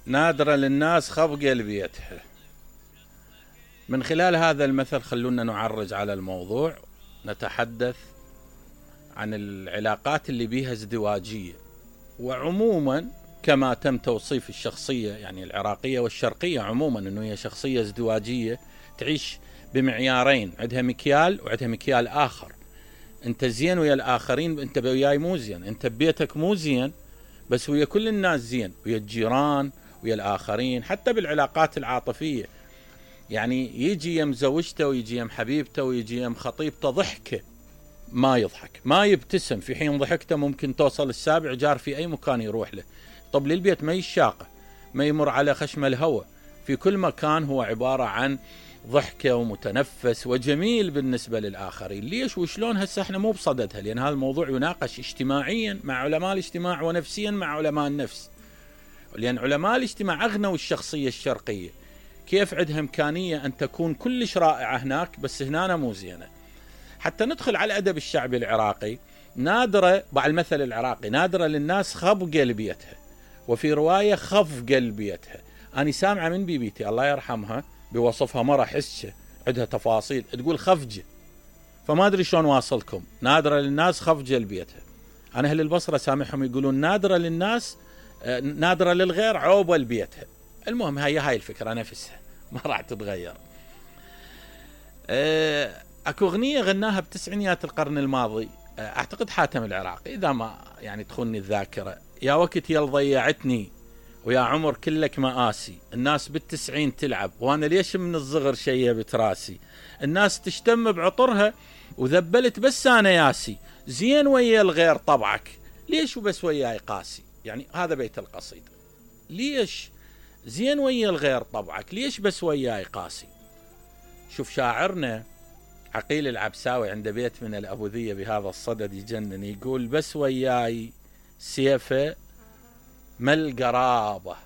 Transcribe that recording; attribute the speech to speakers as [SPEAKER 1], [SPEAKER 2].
[SPEAKER 1] نادرة للناس خف قلبيتها. من خلال هذا المثل خلونا نعرج على الموضوع، نتحدث عن العلاقات اللي بيها ازدواجية، وعموما كما تم توصيف الشخصية يعني العراقية والشرقية عموما انه هي شخصية ازدواجية تعيش بمعيارين، عندها مكيال وعندها مكيال آخر. انت زين ويا الآخرين، انت وياي مو زين، انت ببيتك مو زين بس ويا كل الناس زين، ويا الجيران ويا الآخرين، حتى بالعلاقات العاطفية. يعني يجي يم زوجته ويجي يم حبيبته ويجي يم خطيبته ضحكه ما يضحك، ما يبتسم، في حين ضحكته ممكن توصل السابع جار في أي مكان يروح له. طب للبيت ما يشاقه، ما يمر على خشم الهوى، في كل مكان هو عبارة عن ضحكة ومتنفس وجميل بالنسبة للآخرين. ليش وشلون؟ هسه احنا مو بصددها، لأن هذا الموضوع يناقش اجتماعيا مع علماء الاجتماع ونفسيا مع علماء النفس، لأن علماء الاجتماع أغنوا الشخصية الشرقية، كيف عندها إمكانية أن تكون كلش رائعة هناك بس هنا مو زينة. حتى ندخل على الأدب الشعبي العراقي، نادرة بعد المثل العراقي، نادرة للناس خب قلبيتها، وفي رواية خف قلبيتها. أنا سامعة من بيبيتي الله يرحمها بوصفها مرة حسة عندها تفاصيل تقول خفجة، فما أدري شلون واصلكم. نادرة للناس خف قلبيتها. أنا أهل البصرة سامعهم يقولون نادرة للناس، نادرة للغير عوبل بيتها. المهم هاي الفكرة نفسها ما راح تتغير. اكو اغنية غناها بتسعينيات القرن الماضي، اعتقد حاتم العراقي اذا ما يعني تخوني الذاكرة. يا وقت يل ضيعتني ويا عمر كلك مآسي، الناس بالتسعين تلعب وانا ليش من الصغر شيبت راسي، الناس تشتم بعطرها وذبلت بس انا ياسي، زين ويا الغير طبعك ليش وبس وياي قاسي. يعني هذا بيت القصيدة، ليش زين ويا الغير طبعك ليش بس وياي قاسي. شوف شاعرنا عقيل العبساوي عنده بيت من الأبوذية بهذا الصدد يجنن، يقول بس وياي سيفه ما القرابة